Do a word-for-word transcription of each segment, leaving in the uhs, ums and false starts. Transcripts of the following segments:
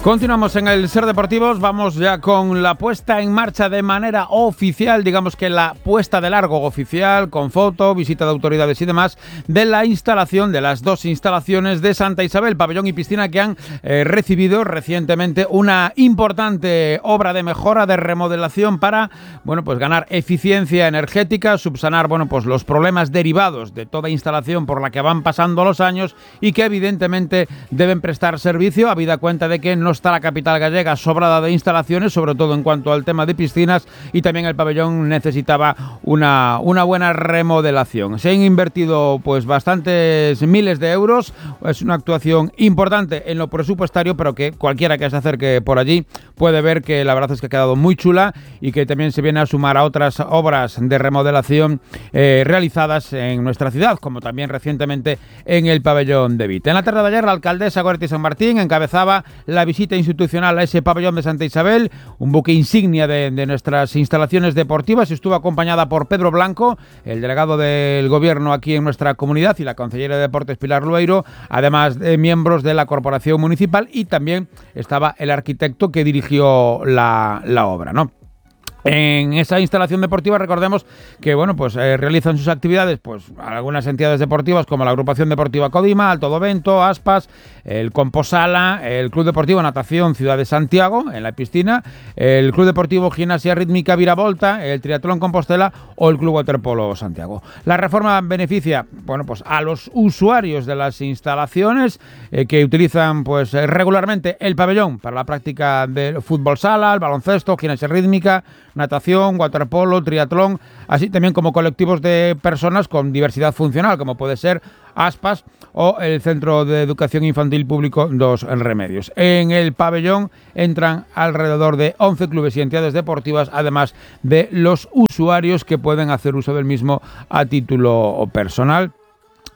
Continuamos en el Ser Deportivos, vamos ya con la puesta en marcha de manera oficial, digamos que la puesta de largo oficial, con foto, visita de autoridades y demás, de la instalación, de las dos instalaciones de Santa Isabel, pabellón y piscina, que han eh, recibido recientemente una importante obra de mejora, de remodelación para, bueno, pues ganar eficiencia energética, subsanar, bueno, pues los problemas derivados de toda instalación por la que van pasando los años y que evidentemente deben prestar servicio, habida cuenta de que no está la capital gallega sobrada de instalaciones, sobre todo en cuanto al tema de piscinas, y también el pabellón necesitaba una, una buena remodelación. Se han invertido pues bastantes miles de euros, es una actuación importante en lo presupuestario, pero que cualquiera que se acerque por allí puede ver que la verdad es que ha quedado muy chula y que también se viene a sumar a otras obras de remodelación eh, realizadas en nuestra ciudad, como también recientemente en el pabellón de Vite. En la tarde de ayer, la alcaldesa Goretti San Martín encabezaba la visita institucional a ese pabellón de Santa Isabel, un buque insignia de, de nuestras instalaciones deportivas. Estuvo acompañada por Pedro Blanco, el delegado del gobierno aquí en nuestra comunidad, y la consellera de Deportes Pilar Lueiro, además de miembros de la corporación municipal, y también estaba el arquitecto que dirigió la, la obra, ¿no? En esa instalación deportiva, recordemos que bueno, pues eh, realizan sus actividades pues algunas entidades deportivas como la Agrupación Deportiva Codima, Alto do Vento, Aspas, el Composala, el Club Deportivo Natación Ciudad de Santiago en la piscina, el Club Deportivo Gimnasia Rítmica Viravolta, el Triatlón Compostela o el Club Waterpolo Santiago. La reforma beneficia, bueno, pues a los usuarios de las instalaciones eh, que utilizan pues regularmente el pabellón para la práctica del fútbol sala, el baloncesto, gimnasia rítmica, natación, waterpolo, triatlón, así también como colectivos de personas con diversidad funcional, como puede ser Aspas o el Centro de Educación Infantil Público Dos Remedios. En el pabellón entran alrededor de once clubes y entidades deportivas, además de los usuarios que pueden hacer uso del mismo a título personal,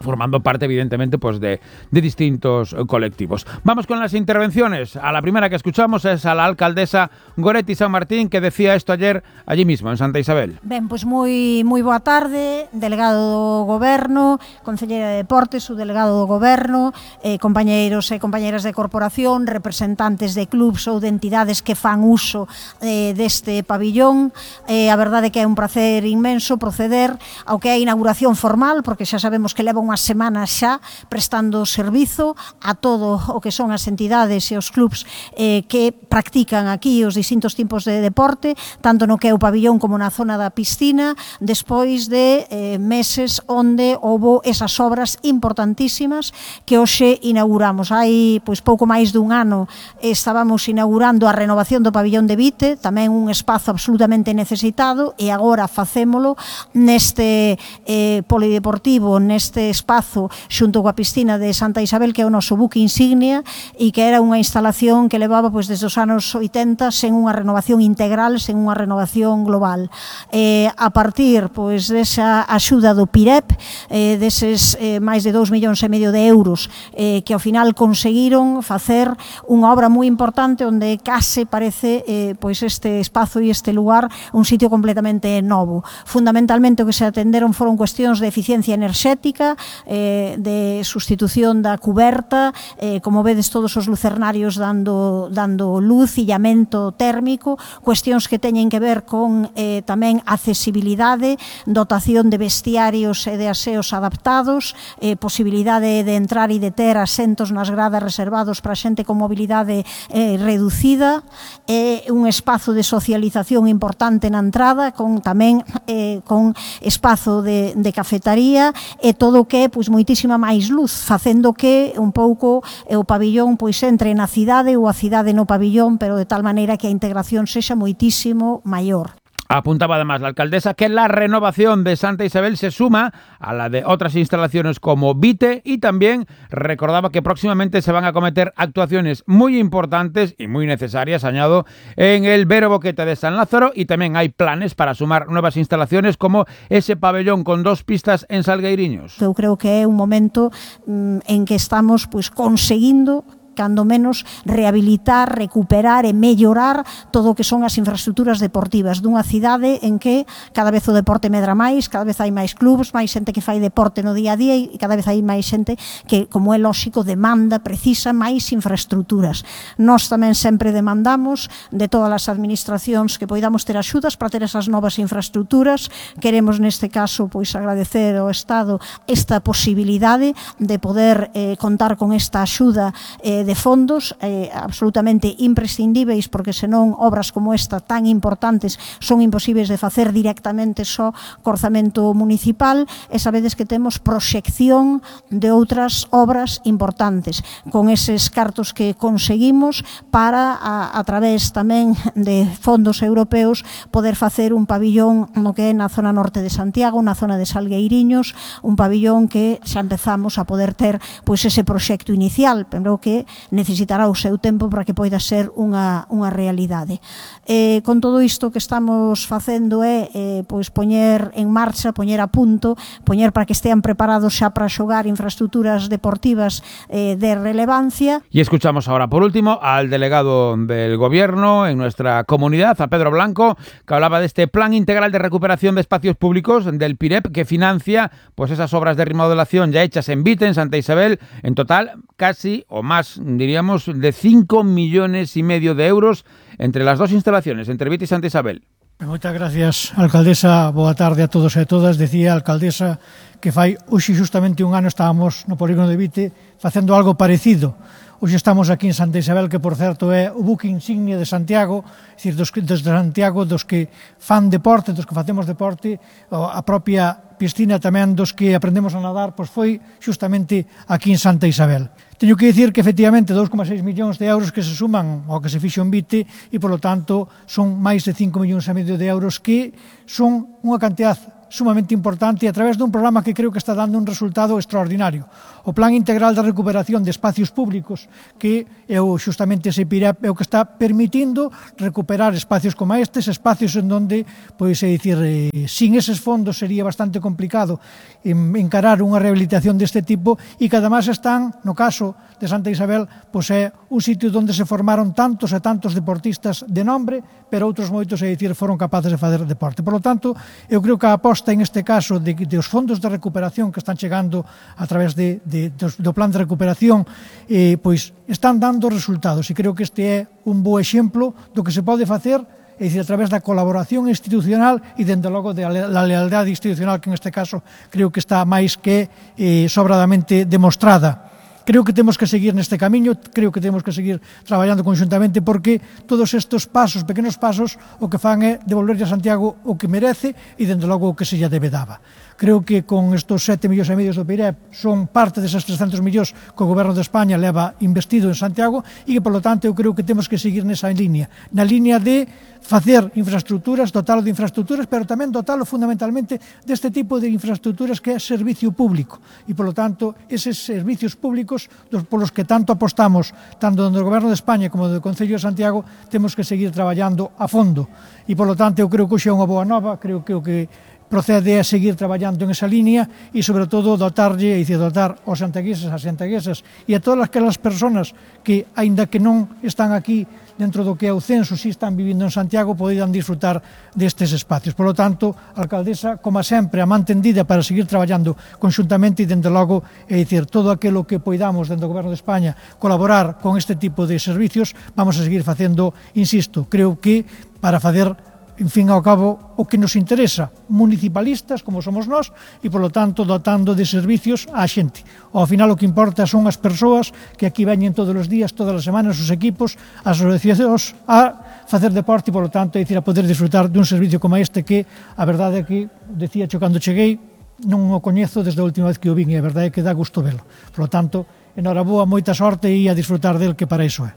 formando parte, evidentemente, pues de, de distintos colectivos. Vamos con las intervenciones. A la primera que escuchamos es a la alcaldesa Goretti San Martín, que decía esto ayer allí mismo, en Santa Isabel. Ben, pois moi, moi boa tarde, delegado do Goberno, concelleira de Deportes, o delegado do Goberno, eh, compañeiros e compañeiras de corporación, representantes de clubs ou de entidades que fan uso eh, deste pabillón. Eh, a verdade é que é un placer inmenso proceder ao que é a inauguración formal, porque xa sabemos que leva un unhas semanas xa prestando servizo a todo o que son as entidades e os clubs eh, que practican aquí os distintos tipos de deporte, tanto no que é o pabillón como na zona da piscina, despois de eh, meses onde houbo esas obras importantísimas que hoxe inauguramos. Hai pois pouco máis dun ano estábamos inaugurando a renovación do pabillón de Vite, tamén un espazo absolutamente necesitado, e agora facémolo neste eh, polideportivo, neste espazo xunto coa piscina de Santa Isabel, que é o noso buque insignia e que era unha instalación que levaba pois desde os anos oitenta sen unha renovación integral, sen unha renovación global. Eh, a partir pois desa axuda do PIREP, eh, deses eh, máis de dous millóns e medio de euros eh, que ao final conseguiron facer unha obra moi importante onde case parece eh, pois este espazo e este lugar un sitio completamente novo. Fundamentalmente o que se atenderon foron cuestións de eficiencia enerxética, eh, de sustitución da cuberta, eh, como vedes todos os lucernarios dando, dando luz, illamento térmico, cuestións que teñen que ver con eh, tamén accesibilidade, dotación de vestiarios e de aseos adaptados, eh, posibilidade de entrar e de ter asentos nas gradas reservados para xente con mobilidade eh, reducida, eh, un espazo de socialización importante na entrada, con tamén eh, con espazo de, de cafetaría e todo o que é pois moitísima máis luz, facendo que un pouco eh, o pabillón pois entre na cidade ou a cidade no pabillón, pero de tal maneira que a integración sexa moitísimo maior. Apuntaba además la alcaldesa que la renovación de Santa Isabel se suma a la de otras instalaciones como Vite, y también recordaba que próximamente se van a cometer actuaciones muy importantes y muy necesarias, añado, en el Vero Boquete de San Lázaro, y también hay planes para sumar nuevas instalaciones como ese pabellón con dos pistas en Salgueiriños. Eu creo que é un momento mm, en que estamos pois conseguindo cando menos rehabilitar, recuperar e mellorar todo o que son as infraestructuras deportivas dunha cidade en que cada vez o deporte medra máis, cada vez hai máis clubs, máis xente que fai deporte no día a día e cada vez hai máis xente que, como é lóxico, demanda, precisa máis infraestructuras. Nós tamén sempre demandamos de todas as administracións que poidamos ter axudas para ter esas novas infraestructuras. Queremos neste caso pois agradecer ao Estado esta posibilidade de poder eh, contar con esta axuda eh, de fondos eh, absolutamente imprescindíveis, porque senón obras como esta tan importantes son imposibles de facer directamente só co orzamento municipal, e sabedes que temos proxección de outras obras importantes con eses cartos que conseguimos para, a, a través tamén de fondos europeos, poder facer un pabillón no que é na zona norte de Santiago, na zona de Salgueiriños, un pabillón que xa empezamos a poder ter pois ese proxecto inicial, pero que necesitará o seu tempo para que poida ser unha, unha realidade. Eh, con todo isto que estamos facendo é eh, pois poñer en marcha, poñer a punto, poñer para que estean preparados xa para xogar infraestructuras deportivas eh, de relevancia. Y escuchamos ahora, por último, al delegado del Gobierno en nuestra comunidad, a Pedro Blanco, que hablaba de este Plan Integral de Recuperación de Espacios Públicos del P I R E P, que financia pues esas obras de remodelación ya hechas en Vite, en Santa Isabel, en total casi, o más, diríamos, de cinco millones y medio de euros entre las dos instalaciones, entre Vite y Santa Isabel. Moitas gracias, alcaldesa. Boa tarde a todos e a todas. Decía a alcaldesa que fai hoxe justamente un ano estábamos no polígono de Vite facendo algo parecido. Hoxe estamos aquí en Santa Isabel, que por certo é o buque insignia de Santiago, é dicir, dos, desde Santiago, dos que fan deporte, dos que facemos deporte, a propia piscina tamén dos que aprendemos a nadar, pois foi justamente aquí en Santa Isabel. Teño que dicir que efectivamente dous coma seis millóns de euros que se suman ao que se fixo en Vite e, polo tanto, son máis de cinco millóns e medio de euros que son unha cantidad sumamente importante a través dun programa que creo que está dando un resultado extraordinario. O Plan Integral de Recuperación de Espacios Públicos, que é o, justamente ese P I R E P, é o que está permitindo recuperar espacios como estes, espacios en donde, pois, é dicir, eh, sin eses fondos sería bastante complicado encarar unha rehabilitación deste tipo, e que además están, no caso de Santa Isabel, pois é un sitio onde se formaron tantos e tantos deportistas de nombre, pero outros moitos, é dicir, foron capaces de fazer deporte. Por lo tanto, eu creo que a aposta en este caso de, de os fondos de recuperación que están chegando a través de, de, de, do plan de recuperación, eh, pois están dando resultados, e creo que este é un bo exemplo do que se pode facer, é dicir, a través da colaboración institucional e, dende logo, da lealdade institucional, que en este caso creo que está máis que eh, sobradamente demostrada. Creo que temos que seguir neste camiño, creo que temos que seguir traballando conxuntamente, porque todos estes pasos, pequenos pasos, o que fan é devolverlle a Santiago o que merece e, dende logo, o que se lle debe daba. Creo que con estes sete millóns e medio do P I R E P son parte desas trescentos millóns que o Goberno de España leva investido en Santiago, e que, polo tanto, eu creo que temos que seguir nesa línea, na línea de facer infraestructuras, dotalo de infraestructuras, pero tamén dotalo fundamentalmente deste tipo de infraestructuras que é servicio público, e, polo tanto, eses servicios públicos dos polos que tanto apostamos, tanto do Goberno de España como do Concello de Santiago, temos que seguir traballando a fondo, e, polo tanto, eu creo que hoxe é unha boa nova, creo que o que procede a seguir traballando en esa línea e, sobre todo, dotarlle, e dicir, dotar aos santiagueses, as santiaguesas e a todas aquelas persoas que, aínda que non están aquí dentro do que é o censo, si están vivindo en Santiago, poderán disfrutar destes espacios. Por lo tanto, a alcaldesa, como sempre, a man tendida para seguir traballando conxuntamente e, dende logo, é dicir, todo aquilo que poidamos dentro do Goberno de España colaborar con este tipo de servicios, vamos a seguir facendo, insisto, creo que para facer, en fin ao cabo, o que nos interesa, municipalistas como somos nós, e, polo tanto, dotando de servicios á xente. Ao final, o que importa son as persoas que aquí veñen todos os días, todas as semanas, os equipos, as asociacións, a facer deporte e, polo tanto, é dicir, a poder disfrutar dun servicio como este que, a verdade é que, decía yo cando cheguei, non o coñezo desde a última vez que o vin, e a verdade é que dá gusto velo. Por lo tanto, enhoraboa, moita sorte e a disfrutar del, que para iso é.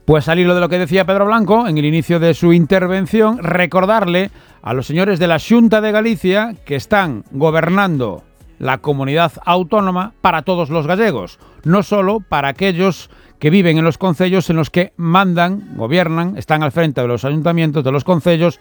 Pues al hilo de lo que decía Pedro Blanco en el inicio de su intervención, recordarle a los señores de la Xunta de Galicia que están gobernando la comunidad autónoma para todos los gallegos, no solo para aquellos que viven en los concellos en los que mandan, gobiernan, están al frente de los ayuntamientos, de los concellos,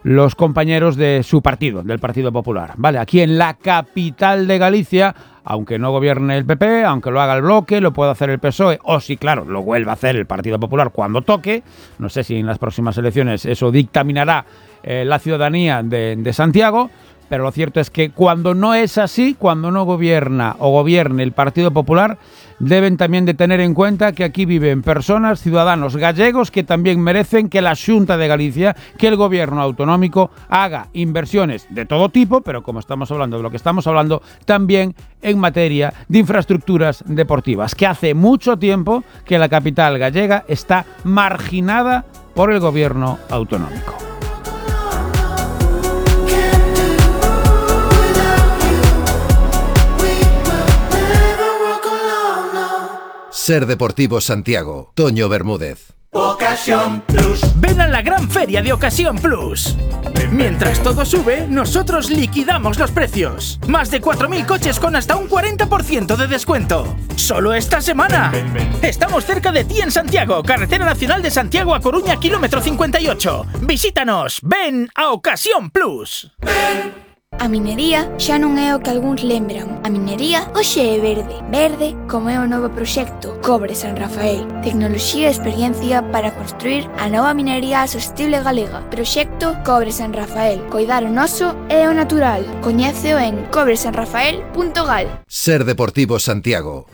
los compañeros de su partido, del Partido Popular. Vale, aquí en la capital de Galicia aunque no gobierne el P P, aunque lo haga el bloque, lo puede hacer el P S O E, o si, claro, lo vuelve a hacer el Partido Popular cuando toque. No sé si en las próximas elecciones eso dictaminará eh, la ciudadanía de, de Santiago, pero lo cierto es que cuando no es así, cuando no gobierna o gobierne el Partido Popular, deben también de tener en cuenta que aquí viven personas, ciudadanos gallegos, que también merecen que la Xunta de Galicia, que el gobierno autonómico haga inversiones de todo tipo, pero como estamos hablando de lo que estamos hablando, también en materia de infraestructuras deportivas, que hace mucho tiempo que la capital gallega está marginada por el gobierno autonómico. Ser Deportivo Santiago, Toño Bermúdez. Ocasión Plus. Ven a la gran feria de Ocasión Plus. Mientras todo sube, nosotros liquidamos los precios. Más de cuatro mil coches con hasta un cuarenta por ciento de descuento. Solo esta semana. Ven, ven, ven. Estamos cerca de ti en Santiago, Carretera Nacional de Santiago a Coruña, kilómetro cincuenta y ocho. Visítanos. Ven a Ocasión Plus. Ven. A minería xa non é o que algúns lembran. A minería hoxe é verde. Verde como é o novo proxecto Cobre San Rafael. Tecnoloxía e experiencia para construir a nova minería sostible galega. Proxecto Cobre San Rafael. Coidar o noso e o natural. Coñéceo en cobre san rafael punto gal. Ser Deportivo Santiago.